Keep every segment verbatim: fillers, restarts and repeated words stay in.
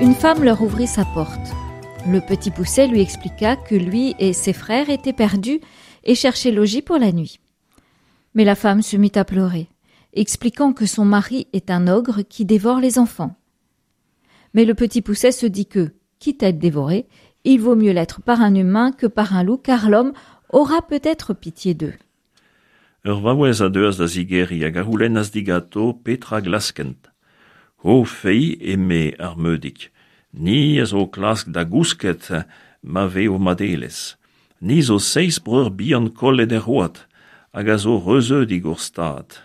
Une femme leur ouvrit sa porte. Le petit Poucet lui expliqua que lui et ses frères étaient perdus et cherchaient logis pour la nuit. Mais la femme se mit à pleurer, expliquant que son mari est un ogre qui dévore les enfants. Mais le petit Poucet se dit que, quitte à être dévoré, il vaut mieux l'être par un humain que par un loup, car l'homme aura peut-être pitié d'eux. Ur vaouez a deuas da zigeriñ hag a c'houlennas diganto petra glaskent. Ho feiz, eme ar Meudig, ni a zo klask da gousket ma ve ho madelezh. Ni zo seizh breur bihan kollet er c'hoad, hag a zo reuzeudik hor stad.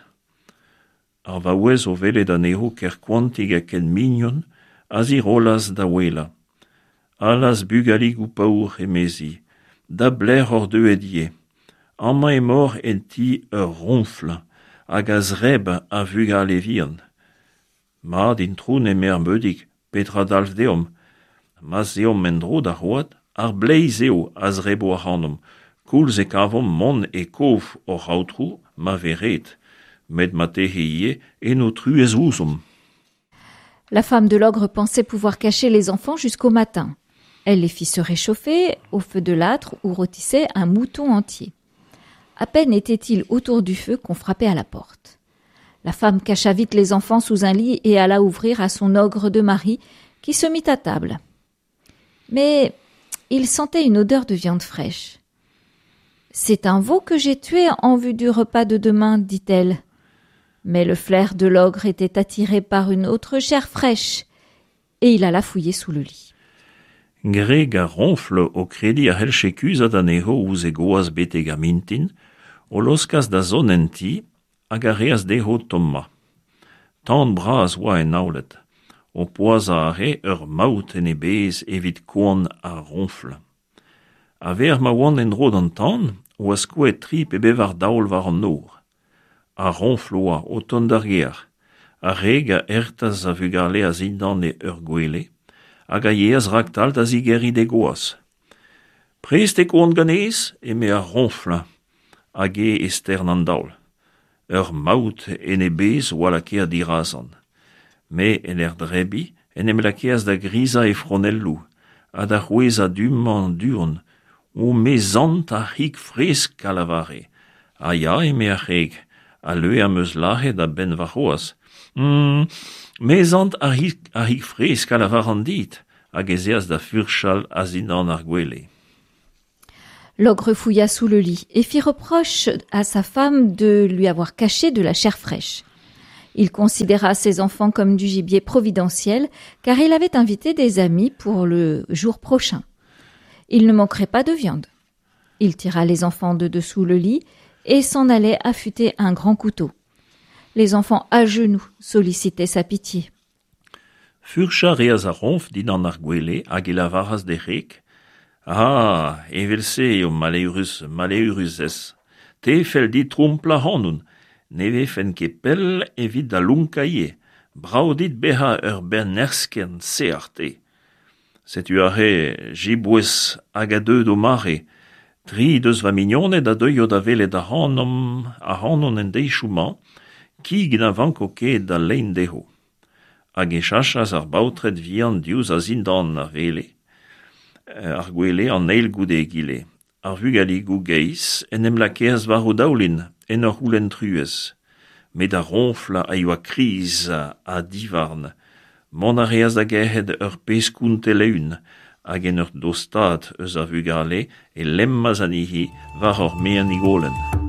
Ar vaouez o welet anezho ker koantik ha ken mignon a zirollas da ouelañ. Allaz bugaligoù paour, emezi, da belec'h oc'h deuet ivez. Amañ emaoc'h en ti ur roñfl hag a zebr ar vugale vihan. Mat, itron, eme ar Meudig, petra dalv deomp? Ma'z eomp en-dro d'ar c'hoad, ar bleiz eo a zebro ac'hanomp, koulz e kavomp mont e kof hoc'h aotrou ma vez ret, met marteze ivez en ho truez ouzhomp. La femme de l'ogre pensait pouvoir cacher les enfants jusqu'au matin. Elle les fit se réchauffer au feu de l'âtre où rôtissait un mouton entier. À peine était-il autour du feu qu'on frappait à la porte. La femme cacha vite les enfants sous un lit et alla ouvrir à son ogre de mari qui se mit à table. Mais il sentait une odeur de viande fraîche. C'est un veau que j'ai tué en vue du repas de demain, dit-elle. Mais le flair de l'ogre était attiré par une autre chair fraîche, et il alla fouiller sous le lit. Gwreg ar roñfl o krediñ a c'hellje kuzhat anezho ouzh he gwaz betek ar mintin, o laoskas da zont en ti hag a reas dezho tommañ. Tan bras oa en aoled, o poazhañ a rae ur maout en e bezh evit koan ar roñfl. A-vec'h ma oant en-dro d'an tan, oa skoet tri pe bevar daol war an nor. Ar roñfl oa o tont d'ar gêr. Ar wreg a hertas ar vugale a-zindan ur gwele, hag a yeas raktal da zigeriñ d'he gwaz. Prest eo koan ganez, eme ar roñfl, hag eo e stern an daol. Ur maout en e bezh oa lakaet dirazan. Met en ur drebiñ en em lakaas da grizañ e fronelloù, ha da c'hwezhañ du-mañ du-hont. O me sant ar c'hig fresk a lavare. Ha ya, eme ar wreg, al leue am eus lazhet a-benn warc'hoazh. Mm, me sant ar c'hig, ar c'hig fresk a lavaran dit, hag ez eas da furchal a-zindan ar gwele. L'ogre fouilla sous le lit et fit reproche à sa femme de lui avoir caché de la chair fraîche. Il considéra ses enfants comme du gibier providentiel, car il avait invité des amis pour le jour prochain. Il ne manquerait pas de viande. Il tira les enfants de dessous le lit et s'en allait affûter un grand couteau. Les enfants à genoux sollicitaient sa pitié. Furchañ a reas ar roñfl dindan ar gwele hag e lavaras d'e wreg. Ah, evel-se eo maleürus, maleürusez. Te fell dit tromplañ ac'hanon. Ne vefen ket pell evit da lonkañ ivez. Brav dit bezañ ur bern eskern sec'h te. Setu aze jiboez hag a deu d'o mare. Tri deus va mignoned a deuio da welet ac'hanomp ac'hanon en deizioù-mañ, kig na vanko ket da lein dezho. Hag e sachas ar baotred vihan diouzh a-zindan ar wele. Ar gwele an eil goude egile. Ar vugaligoù geizh en em lakaas war o daoulin en ur c'houlenn truez. Met ar roñfl a yoa kriz ha divarn. Mont a reas da gerc'hat ur pezh kontell eeun hag en ur dostaat eus ar vugale e lemmas anezhi war ur maen-higolenn.